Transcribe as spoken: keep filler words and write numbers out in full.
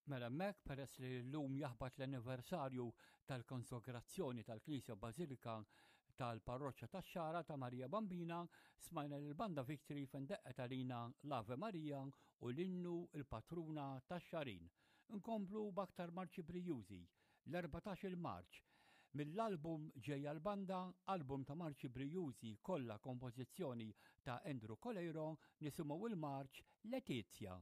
Mela hemmhekk, peress li llum jaħbat l-anniversarju tal-konsagrazzjoni tal-Knisja Bażilika tal-Parroċċa tax-Xagħra ta' Marija Bambina, smajna l-Banda Victory fejn daqqet għalina l-Ave Maria u l-innu il-Patruna tax-Xagħrin. Nkomplu b'aktar marċi brijużi, l-erbatax-il marċ. Mill-album Ġejja l-Banda, album ta' marċi brijużi kollha kompożizzjoni ta' Andrew Coleiro, nisimgħu il-marċ Letizia.